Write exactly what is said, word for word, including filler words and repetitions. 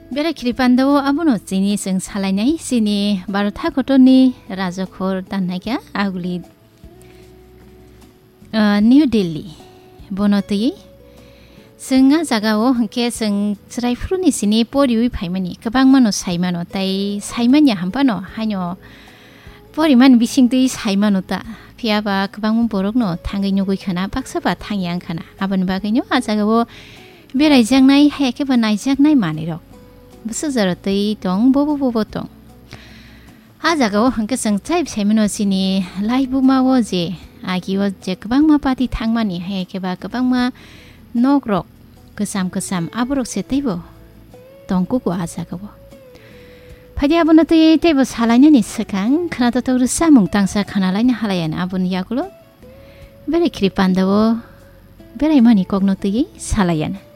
Bera khiri pandao abono chini chwng salainai chini Bharat hakotorni rajakhor tannaikha aguli, ah, New Delhi. Bono twi chwng a jagao hwnkhe chwng chwraiphuruni sini poriwi phaimani kwbangmano saimano tei saimanya hampano haino porimani bisingtwi saimano ta. Phiyaba kwbangma borokno thangwi nugwi khana, baksa ba thangya wngkhana. Aboni bagwino a jagao beraijaknai, haya khe ba naijaknai manwirok bwsajaro twi tong, bobo bobo tong. A jagao hwnkhe chwng chai saimano chini laibuma o je agi o je kwbangma party thangmani, haya khe ba kwbangma nokrok kwcham kwcham aborok se teibo tongkugo a jagao. Phaidi abono twi teibo salainani swkang khwnatok rwsamung tangsa khwnalaina halayan aboni yagulo berai khiri pandao beraimani kokno twi salayan.